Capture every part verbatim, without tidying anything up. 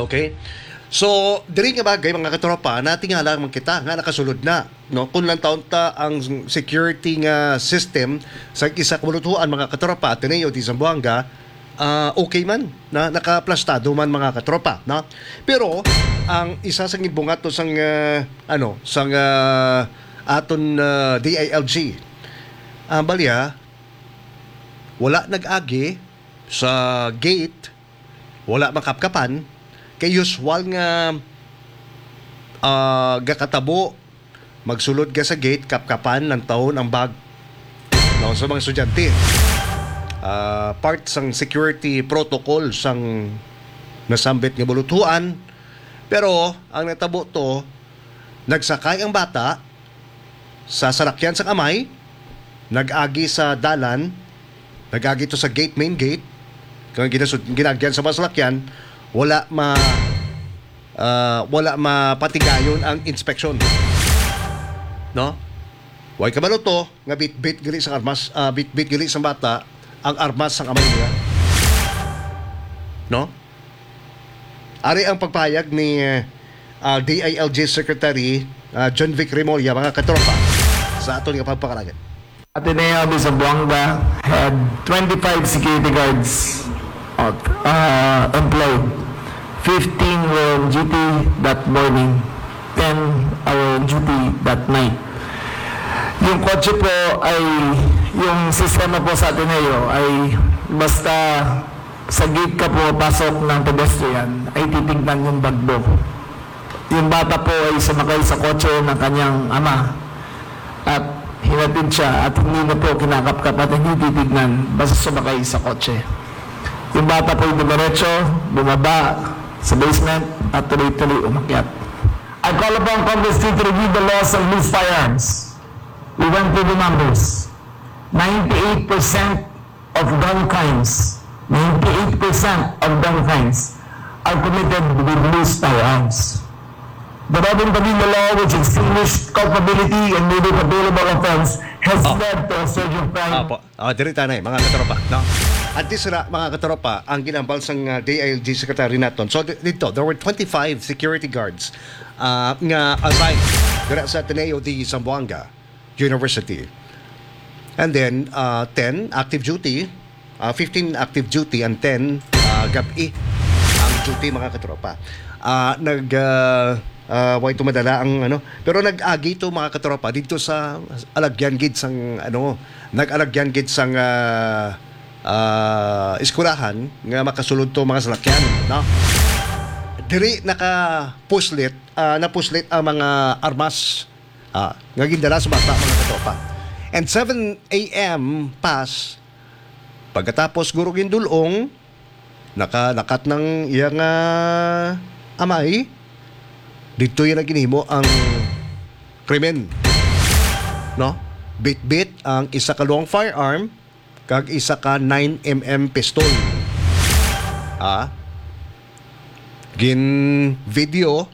Okay? So, diri nga bagay, mga katropa, natingala man kita nga nakasulod na, no? Kung lang taon ta ang security nga system sa isa ka buluthuan, mga katropa, Ateneo de Zamboanga, ah, okay man, na nakaplastado man, mga katropa, no? Pero ang isa sa gibungat to sang, ah, ano, sang, ah, aton, ah, D I L G, ang balya, wala nag-agi sa gate, wala makapkapan, kay usual nga, ah, gakatabo, magsulod ka sa gate, kapkapan lang taon ang bag, no, sa mga estudyante. Ah, part sang security protocol sang nasambit nga buluthuan. Pero ang natabo to, nagsakay ang bata sa salakyan sang amay, nag-agi sa dalan, nag-agi to sa gate, main gate, kang ginasud-, ginagyan sa mga salakyan, wala ma-, ah, wala mapatigayon ang inspeksyon. No? Way kabalo to nga bitbit gali sa armas, ah, bitbit gali sa bata ang armas sang amay niya. No? Ari ang pagpahayag ni, ah, D I L G Secretary, ah, John Vic Remulla, mga katropa, sa aton nga pagpakalagan. Ateneo de Zamboanga had twenty-five security guards, uh, employed. Fifteen were on duty that morning. Ten are on duty that night. Yung kotse po ay, yung sistema po sa Ateneo ay basta sa gate ka pumapasok ng pedestrian, ay titignan yung bag mo. Yung bata po ay sumakay sa kotse ng kanyang ama at hinatid siya at hindi na po kinakapkap at hindi titignan basta sumakay sa kotse. Yung bata po ay dumiretso, bumaba sa basement at tuloy-tuloy umakyat. I call upon Congress two to review the laws of loose firearms. We went through the numbers. Ninety-eight percent of gun crimes, ninety-eight percent of gun crimes are committed with loose firearms. The Robin Padilla law, which extinguished culpability and made it a bailable offense, has Oh. led to a surge of crime. Apo. Ah, diri tanay, mga katropa, no? At this ra, mga katropa, ang ginambal sang, ah, D I L G secretary naton. So, di-, dito, there were twenty-five security guards, ah, nga assigned dira sa Ateneo de Zamboanga University. And then, ah, ten active duty, ah, fifteen active duty and ten, ah, gab-i ang duty, mga katropa. Ah, nag, ah, ah, way to madala ang ano, pero nag-agi to, mga katropa, dito sa alagyan gid sang ano, nag-alagyan gid sang, ah, ah, eskwelahan nga makasulod to mga salakyan, no? Diri nakapuslit, ah, napuslit ang mga armas, ah, nga gindala sa bata, mga katropa. And seven A M pass, pagkatapos guro gindulong, nakalakat ng iyang, ah, amay, dito yan ang ginhimo ang krimen, no? Bitbit ang isa ka long firearm kag isa ka nine M M pistol. Ah, gin video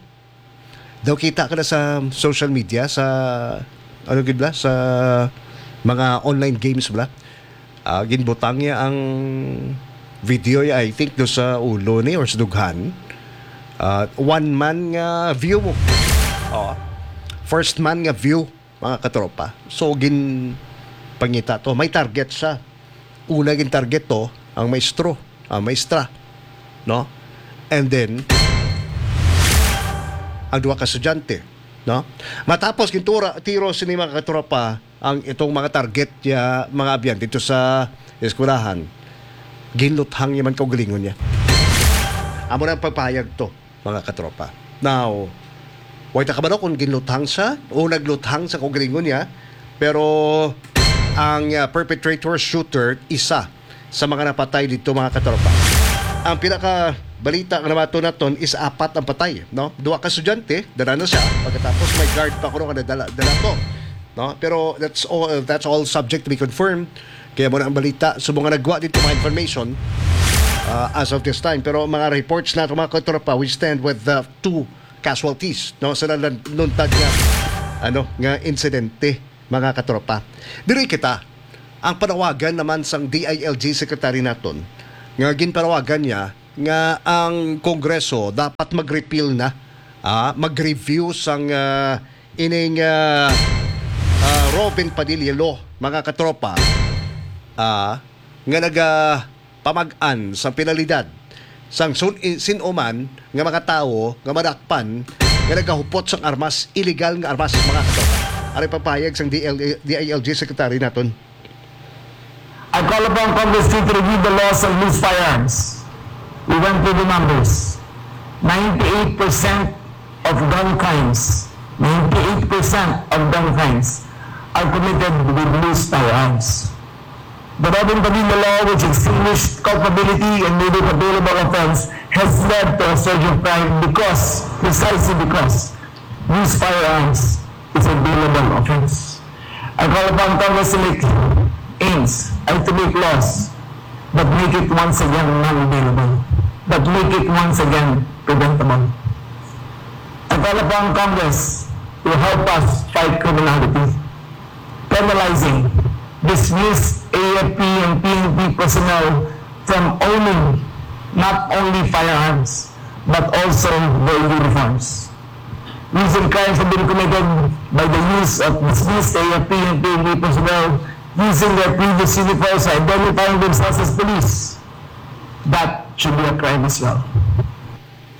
daw, kita ka na sa social media, sa, ano gid bala, sa mga online games bala. Ah, ginbutang niya ang video, I think, do sa ulo ni or sa dughan. Ah, one man nga view mo. Oh. First man nga view, mga katropa. So, gin pangita to. May target siya. Una gin target to, ang maestro, ang maestra, no? And then, ang duha ka estudyante, no? Matapos gintura, tiro sini, mga katropa, ang itong mga target ya, mga abyan dito sa eskwelahan, ginluthang niya man kaugalingon niya. Amo na ang pagpahayag to, mga katropa. Now, way ta kabalo kung ginluthang siya o nagluthang sa kaugalingon niya, pero ang, ah, perpetrator, shooter, isa sa mga napatay dito, mga katropa. Ang pinaka balita nga namato naton is apat ang patay, no? Duha ka estudyante, dala na siya. Pagkatapos may guard pa kuno nga nadala, dala to, no? Pero that's all, that's all subject to be confirmed. Kaya mo na ang balita. So, mga nagwa dito mga information, ah, as of this time. Pero mga reports nato, mga katropa, we stand with the two casualties, no, sa nalan-, naluntad nga, ano, nga insidente, mga katropa. Diri kita, ang panawagan naman sang D I L G secretary naton, nga ginpanawagan niya nga ang Kongreso dapat mag-repeal na, ah, mag-review sang, ah, ining, ah, ah, Robin Padilla Law, mga katropa, ah, nga nagapamag-an sa penalidad sang sun-, i-, sin-o man nga mga tawo nga madakpan nga nagahupot sang armas, illegal nga armas, mga katropa. Ari pahayag sang D L A, D I L G Secretary naton. I call upon Congress to review the laws of loose firearms. We went through the numbers. Ninety-eight percent of gun crimes, ninety-eight percent of gun crimes are committed with loose firearms. The Robin Padilla law, which extinguished culpability and made it a bailable offense, has led to a surge of crime because, precisely because, loose firearms is a bailable offense. I call upon Congress to make aims and to make laws that make it once again non-bailable, that make it once again preventable. I call upon Congress to help us fight criminality, penalizing, dismiss A F P and P N P personnel from owning not only firearms but also their uniforms. Recent crimes have been committed by the use of dismissed A F P and P N P personnel using their previous uniforms, identifying themselves as police. That should be a crime as well.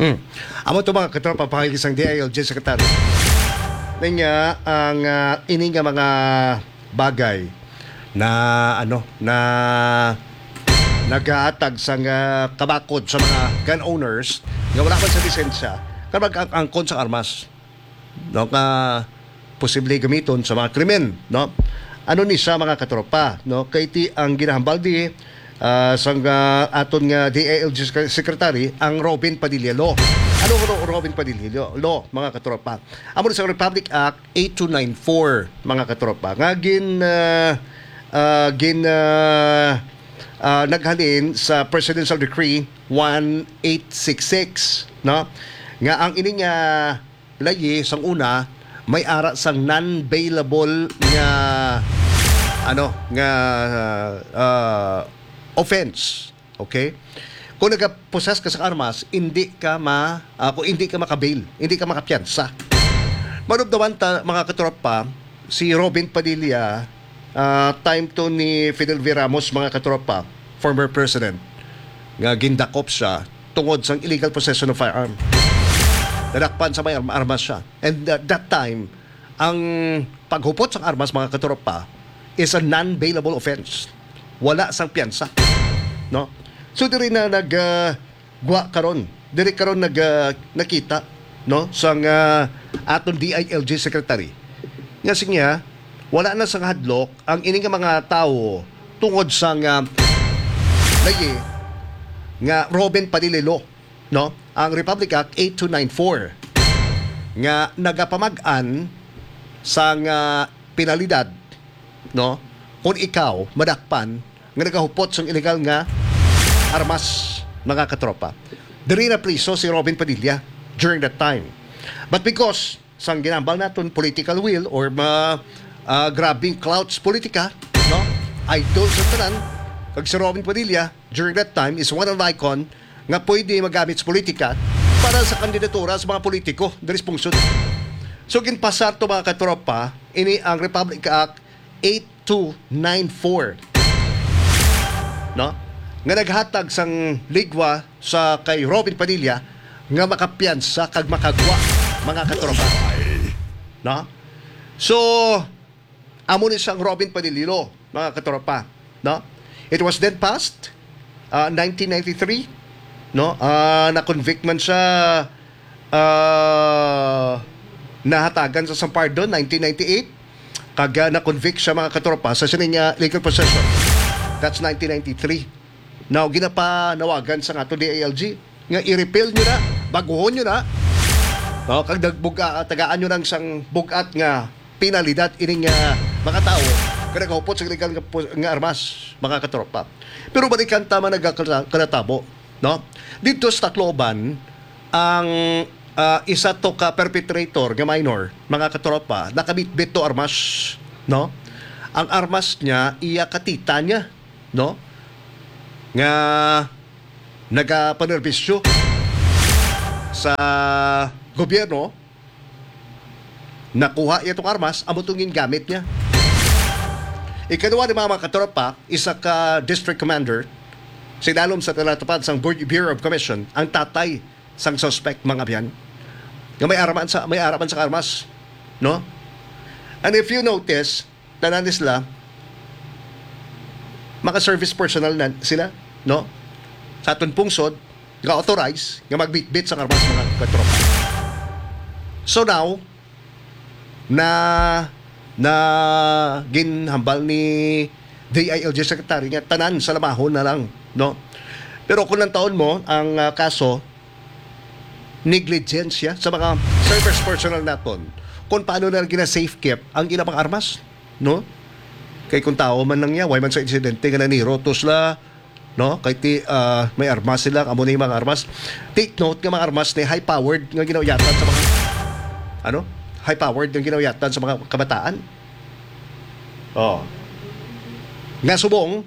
Hmm. Amo to, mga katropa, pahayag sang D I L G Secretary. Niya ang, ah, ini nga mga bagay na, ano, na naghatag sang, ah, kabakod sa mga gun owners nga wala man sa lisensya nga mag-angkon sa armas, no, nga posible gamiton sa mga krimen, no? Ano ni siya, mga katropa, no? Kay ti ang ginahambal di, ah, sang, ah, aton nga D I L G sec-, secretary, ang Robin Padilla Law. Ano ang Ro-, Robin Padilla Law, mga katropa? Amo ni sa Republic Act eight two nine four, mga katropa, nga gin, ah, ah, gin, ah, ah, naghalin sa Presidential Decree one eight six six, no? Nga ang ining, ah, layi sang una may ara sang non-bailable nga, ano, nga, ah, offense. Okay? Kung nagapossess ka sa armas, hindi ka ma-, ah, kung hindi ka makabail, hindi ka makapiyansa. Manubdawan ta, mga katropa, si Robin Padilla, ah, time to ni Fidel V. Ramos, mga katropa, former president, nga gindakop siya tungod sang illegal possession of firearm. Nadakpan sa may arm-, armas siya. And at that time, ang paghupot sang armas, mga katropa, is a non-bailable offense. Wala sang piyansa, no? So, diri na nag, ah, gwa karon. Diri karon nag, ah, nakita, no, sang, ah, aton D I L G secretary. Nga siya, wala na sang hadlok ang ini nga mga tawo tungod sang, ah, layi nga Robin Padilla Law, no? Ang Republic Act eight two nine four nga nagapamag-an sang, ah, penalidad, no? Kung ikaw madakpan nga nagahupot sang illegal nga armas, mga katropa. Diri na priso si Robin Padilla during that time. But because sang ginambal naton political will or ma-, ah, grabing clout sa politika, no? Idol sa tanan, kag si Robin Padilla during that time is one of the icon nga pwede magamit sa politika para sa kandidatura sa mga politiko diri sa pungsod. So, ginpasar to, mga katropa, ini ang Republic Act eight two nine four, no? Nga naghatag sang ligwa sa kay Robin Padilla nga makapiyansa kag makagwa, mga katropa. No? So, amo ni sang Robin Padilla Law, mga katropa, no? It was then passed, uh, nineteen ninety-three, no? Ah, na-convict man siya, ah, nahatagan sa sang pardon, nineteen ninety-eight, kag, ah, na-convict siya, mga katropa, sa sining, ah, illegal possession. That's nineteen ninety-three. Now, ginapanawagan sa ato D I L G nga i-repeal nyo na, baguhon nyo na. No, kag nagbuga-, tagaan nyo lang sang bugat nga penalidad ining, ah, mga tawo nga nagahupot sa illegal nga pu-, nga armas, mga katropa. Pero balikan ta man nagakala-, kalatabo, no? Dito sa Tacloban, ang, ah, isa to ka perpetrator nga minor, mga katropa, nakabitbit to armas, no? Ang armas niya, iya ka tita niya, no? Nga nagapanerbisyo sa gobyerno, nakuha niya itong armas, amo itong gingamit niya. Ikaduha ni mga, mga katropa, isa ka district commander, sinalom sa talatapad sang Bu-, Bureau of Commission, ang tatay sang suspect, mga abyan, nga may araman sa, may araman sa armas, no? And if you notice, tanan ni sila, mga service personnel na sila, no? Sa aton pungsod, nga authorized nga magbitbit sang armas, mga katropa. So now, na, na ginhambal ni D I L G Secretary nga tanan sa lamahon na lang, no? Pero kung lantawon mo ang, ah, kaso, negligensya sa mga service personnel naton kung paano na gina-safe keep ang ilang mga armas, no? Kay kung tao man lang niya, way man sa insidente nga naniro to sila, no? Kay ti, ah, may armas sila, amo ni mga armas. Take note nga mga armas ni high-powered nga ginauyatan sa mga, ano? High-powered nga ginauyatan sa mga kabataan. Oh. Nga subong,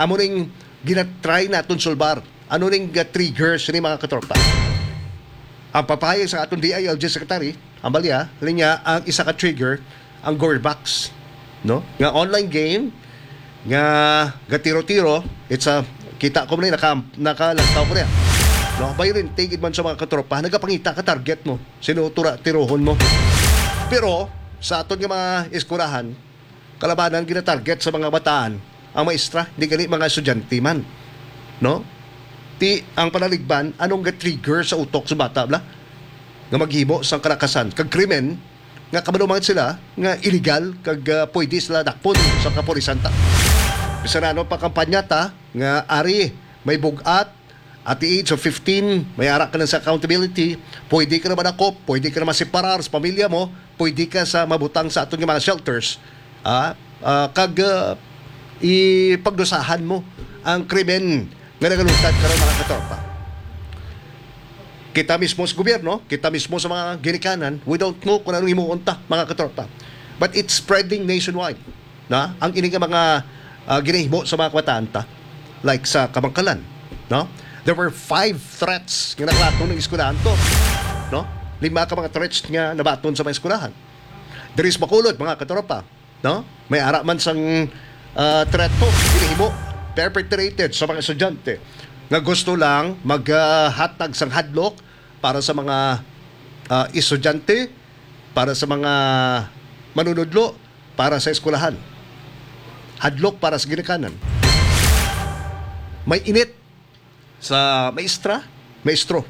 amo ning ginatry naton sulbar. Ano ning, ah, trigger sini, mga katropa? Ang papahayag sa aton D I L G secretary, ang balya, linya, ang isa ka trigger, ang Gore Box, no? Nga online game, nga gatiro-tiro, it's a, kita ko man, naka, nakalantaw ko niya. No, violent, tigid man sa mga katropa, nagapangita ka target mo, sino tura tirohon mo. Pero, sa aton nga mga eskwelahan, kalabanan ginatarget sa mga bataan ang maestra, di gani mga estudyante man, no? Ti ang panaligban, anong ga-trigger sa utok sa bata, bla? Nga maghimo sang kalakasan kag krimen nga kabalo man sila nga illegal kag, ah, pwede sila dakpon sa kapulisan ta. Bisan ano pa kampanya ta nga ari may bug-at, at the age of fifteen, may ara ka na sa accountability, pwede ka na madakop, pwede ka na maseparar sa pamilya mo, pwede ka sa mabutang sa aton nga mga shelters, ah, ah, kag, ah, ipagdusahan mo ang krimen nga nagalutad karon, mga katropa. Kita mismo sa gobyerno, kita mismo sa mga ginikanan, we don't know kung anong himuon ta, mga katropa. But it's spreading nationwide. Na ang ini nga mga, ah, ginahimo sa mga kabataan ta, like sa Kabankalan, no? There were five threats nga naglato ng eskwelahan to, no? Lima ka mga threats nga nabaton sa mga eskwelahan. Diri sa Bacolod, mga katropa, no? May ara man sang, ah, threat to, ginahimo, perpetrated sa mga estudyante nga gusto lang maghatag sang hadlok para sa mga, ah, estudyante, para sa mga manunudlo, para sa eskwelahan. Hadlok para sa ginikanan. May init sa maestra, maestro.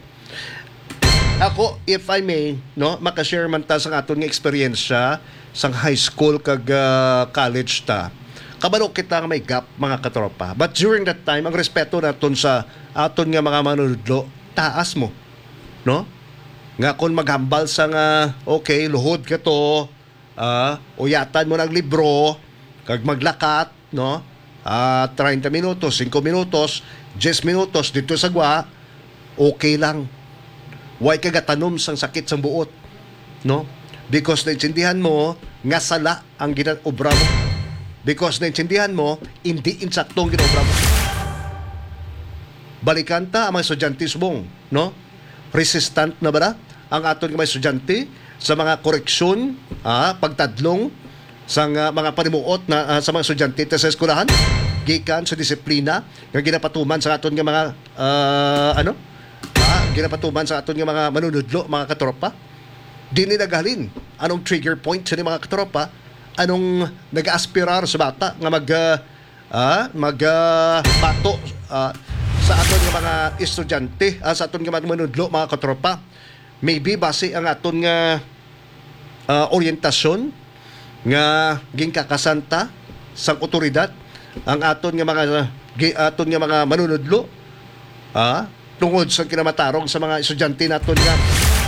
Ako, if I may, no, makashare man ta sa aton nga eksperyensya sa high school kag, ah, college ta. Kabalo kita nga may gap, mga katropa. But during that time, ang respeto naton sa aton nga mga manunudlo, taas mo, no? Nga kung maghambal sa nga, okay, luhod ka to, ah, uyatan mo ng libro, kag maglakat, no? Ah, treinta minutos, singko minutos, diyes minutos dito sa gwa, okay lang. Way ka gatanom sang sakit sang buot, no? Because naintindihan mo nga sala ang ginaobra mo. Because naintindihan mo, hindi insakto ang ginaobra mo. Balikan ta ang mga estudyante subong, no? Resistant na ba na ang aton nga mga estudyante sa mga koreksyon, ah, pagtadlong sa nga mga panimuot na, ah, sa mga estudyante ta sa eskwelahan gikan sa disiplina nga ginapatuman sa aton nga mga, ah, ano? Ah, ginapatuman sa aton nga mga manunudlo, mga katropa. Dini naghalin anong trigger point sa mga katropa? Anong nag-aaspirar sa bata nga mag, ah, ah, mag, ah, bato, ah, sa aton nga mga estudyante, ah, sa aton nga mga manudlo, mga katropa? Maybe base ang aton nga, ah, orientasyon nga ginkakasan ta sang otoridad, ang aton nga mga, gi-, aton nga mga manunudlo, ah, tungod sa kinamatarong sa mga estudyante naton nga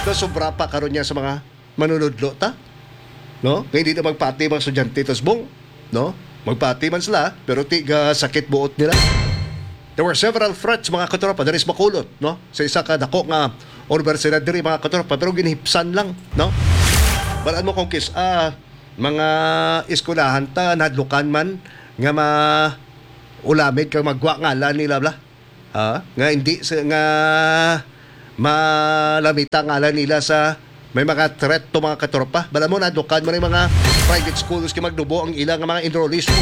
nasobra pa karon niya sa mga manunudlo ta, no? Nga hindi na magpati mga estudyante ta subong, no? Magpati man sila, pero ti ga sakit buot nila. There were several threats, mga katropa, diri sa Bacolod, no? Sa isa ka dako nga universidad diri, mga katropa, pero ginhipsan lang, no? Balaan mo kung kis, ah, mga eskwelahan ta, nahadlukan man nga ma-, ulamid kag magwa ngalan nila, bla. Ah, nga hindi sa, nga malamita ang ngalan nila sa may mga threat to, mga katropa. Bala mo, nadukan mo na yung mga private schools kay magdubo ang ilang mga enrollees mo.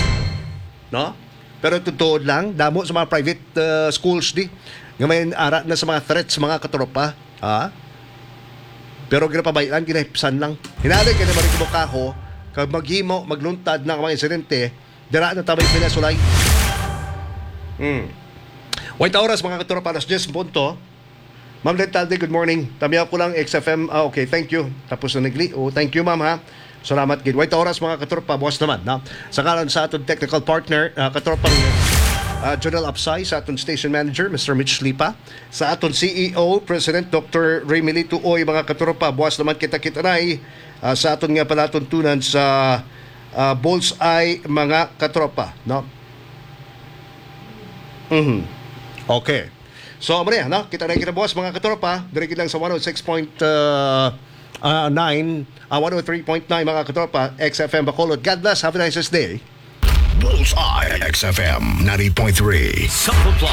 No? Pero totoo lang, damo sa mga private uh, schools di nga may ara na sa mga threats, mga katropa. Ha? Pero ginapabayaan, ginahipsan lang. Hinali ka na marigmo kaho, kag maghimo, magluntad na ang mga insidente, dira na tabay pinasulay. Hmm. Wait oras, mga katropa, alas diyes punto. Ma'am Lentalde, good morning. Tamiyaw ko lang, X F M. Ah, okay, thank you. Tapos na nagli. Oh, thank you, ma'am, ha. Salamat gid. Wait oras, mga katropa, buwas naman, no? Sa ngalan sa aton technical partner, ah, katropang ah, Jonel Apsay, sa aton station manager, Mister Mitch Lipa, sa aton C E O, President Doctor Ray Milito Uy, mga katropa, buwas naman kita kita na ah, sa aton nga palatuntunan sa ah, Bullseye, mga katropa, no? Mhm. Okay. So, amo na, no? Kita na kita buwas, mga katropa. Diri gid lang sa one oh six point nine, ah, one oh three point nine, mga katropa, X F M Bacolod. God bless. Have a nice day. Bullseye, X F M ninety point three. Sa Putla